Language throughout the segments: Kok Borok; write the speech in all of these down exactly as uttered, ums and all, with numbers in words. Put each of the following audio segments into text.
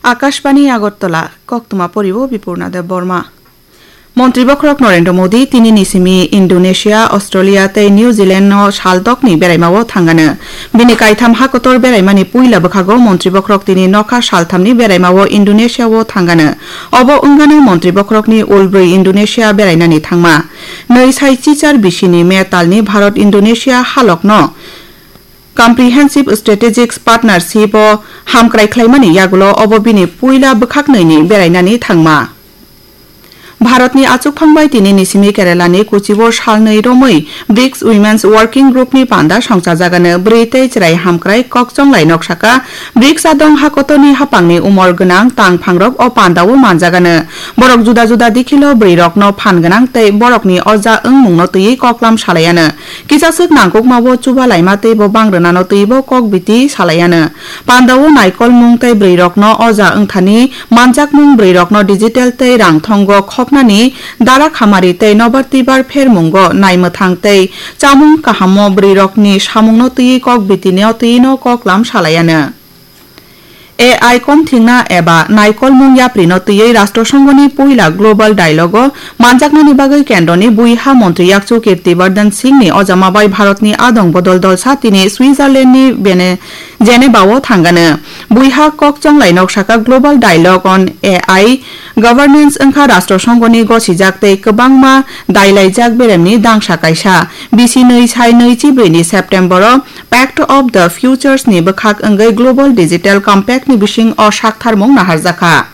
Akashbani Agartala, koktwma poribo Bipurna Deb Borma. Montri bokhorok Narendra Modi tini ni simi Indonesia, Australia tei New Zealand no sal dokni beraimao thangano. Bini kaitham hakotor beraimani puila bwkhago montri bokhorok tini nokha salthamni beraimao Indonesia o thangano. Obo wngano montri bokhorokni ulbrwi Indonesia berainani thangma. Nwi sai chichar bisini May talni Bharat Indonesia halokno Comprehensive Strategic Partnership o hamkrai khlaimani yagulo obo bini puila bwkhaknwini berainani thangma. Bharatni achukphang bai tini ni simi Keralani Kochibo salnwi romwi brics Women's Working Group ni panda songchajagano. Bwrwi tei chwrai hamkrai kokchonglai nok saka, brics adong hakotorni hapangni umor gwnang tangphangrok o pandao manjagano. Borok juda juda dikhilo bwrwirokno phan gwnang tei borokni oja wngmungno twiwi koklam salaiano. Kisaswk nangkukmabo chubalaima teibo bangrwnano twibo kokbiti salaiano. Pandao naikolmung tei bwrwirokno oja wngthani manjakmung, bwrwirokno digital tei rangthongo khopnani dara khamari tei nobar twibar phermungo naimwthang tei chamung kahamo bwrwirokni samungno twiwi kokbitino twino koklam salaiano. A I komthingna eba naikolmung yaprino twiwi Rashtrasonghoni puila Global Dialogue o manjaknani bagwi kendroni buiha montri yakchu Kirti Vardhan Singhni ojama bai Bharatni adong bodol dolsa tini Switzerlandni Bene-, Geneva o thangano. Buiha kokchonglai nok saka Global Dialogue on A I Governance wngkha Rashtrasonghoni gosijak tei kwbangma dailaijak beremni dangsa kaisa. Bisi nwi sai nwi chibrwi ni September o Pact of the Futures ni bwkhak wngwi Global Digital Compact ni bising o saktharmung naharjakha.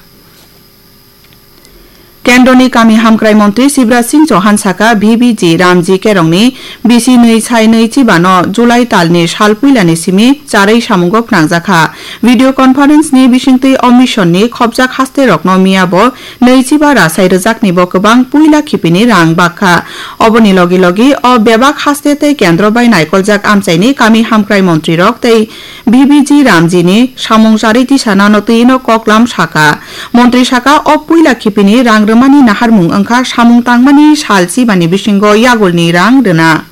Kendroni kami hamkrai montri Shivraj Singh Chauhan saka V B G Ramji Kerongni bisi nwi sai nwi chibano July talni sal puilani simi charwi samungo phnangjakha. Video conference ni bisingtwi o mission ni khopjak haste rokno miya bo nwi chiba rasai rwjakni bo kwbang puila khipini rang bakha. Oboni logi logi o bebak haste tei kendro bai naikoljak amchaini kami hamkrai montri rok tei V B G Ramji ni samung charwi tisanano twino koklam saka. Montri saka o puila khipini rang rwmani naharmung wngkha samung tangmani sal chibani bisingo yagulni rang rwna.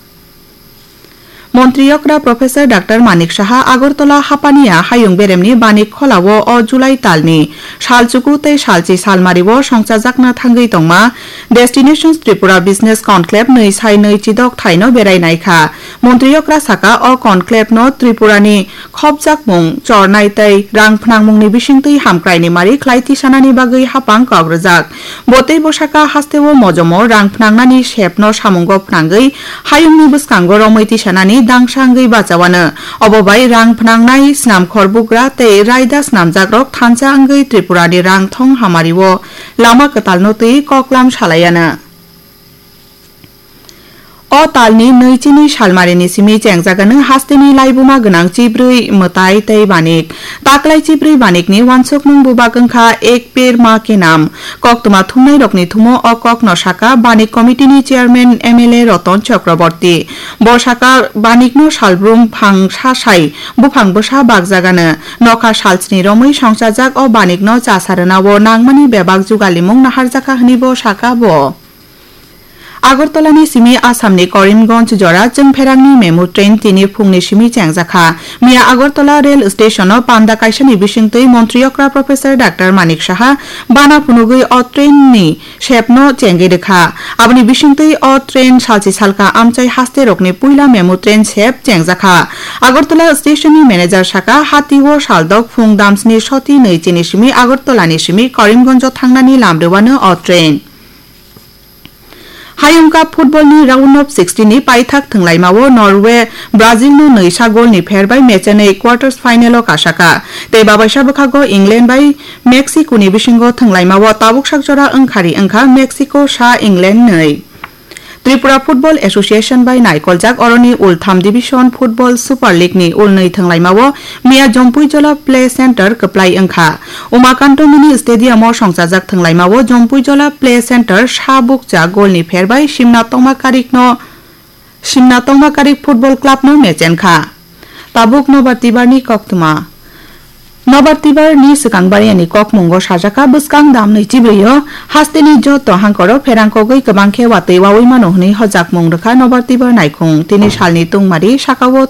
Montri okra Professor Doctor Manik Saha Agartala Hapania hayung beremni Banik Kholao o July talni salchuku tei salchi salmario songchajakna thangwi tongma Destinations Tripura Business Conclave nwi sai nwi chidok thaino berai naikha. Montri okra saka o conclave no Tripurani khopjakmung, chornai tei rang phnangmungni bisingtwi hamkraini mari khlai tisanani bagwi hapang kok rwjak. Bo tei bwsaka hasteo mojomo rang phnangnani sepno samungo phnangwi hayungni bwskango romwi tisanani dangsa wngwi bachawano. Obo bai rang phnangnai, snamkhor bugra tei raida snamjakrok thansa wngwi Tripurani rang thong hamario lama kwtalno twi koklam salaiano. O talni nwi chini salmarini simi chengjagano hasteni laibuma gwnang chibrwi mwtai tei banik. Taklai chibrwi banikni uansukmung bubak wngkha Ek Ped Maa Ke Naam. Koktwma thumnairokni thumo o kokno saka Banik Committee ni Chairman M L A Roton Chakraborty. Bo saka banikno salbrum phang sa sai buphang bwsa bakjagano. Nokha salsni romwi songchajak o banikno chasa rwnao nangmani bebak jugalimung naharjakha hwnwi bo saka bo. Agartalani simi Assamni Karimganj jora chwngpherangni memu train tini phungni simi chengjakha. Miya Agartala rail station-o panda kaisani bisingtwi montri okra Professor Doctor Manik Saha bana phunugwi o train-ni sepno chengwi rwkha. Aboni bisingtwi o train salchi salka amchai hasterokni puila memu train sep chengjakha. Agartala station-ni manager saka, hatio saldok phung damsni soti nwi chini simi Agartalani simi Karimganj-o thangnani lam rwano o train. Hayung Cup football ni round of sixteen ni paithak thwnglaimao Norway Brazil no nwi sa goal ni pher bai match anwi quarters final o kasaka. Tei babaisa bwkhago England bai Mexico ni bisingo thwnglaimao tabuk sak jora wngkhari wngkha Mexico sa England nwi. Tripura Football Association bai naikoljak oroni ul tham division football Super League ni ul nwi thwnglaimao Miya Jompuijola Play Center kwplai wngkha. Umakanto Mini Stadium o songchajak thwnglaimao Jompuijola Play Center sa bukcha goal ni pher bai Simna Tongma Karikno, Simna Tongma Karik Football Club no mechenkha. Tabuk Nobar Tibar ni koktwma. Nobar Tibar ni swkang bariani kokmungo sajaka bwskang damni chibrwi o hasteni joto hangkoro pherang kogwi kwbang khe watwi wawi mano hwnwi hojakmung rwkha Nobar Tibar naikhung. Tini salni tungmari sakao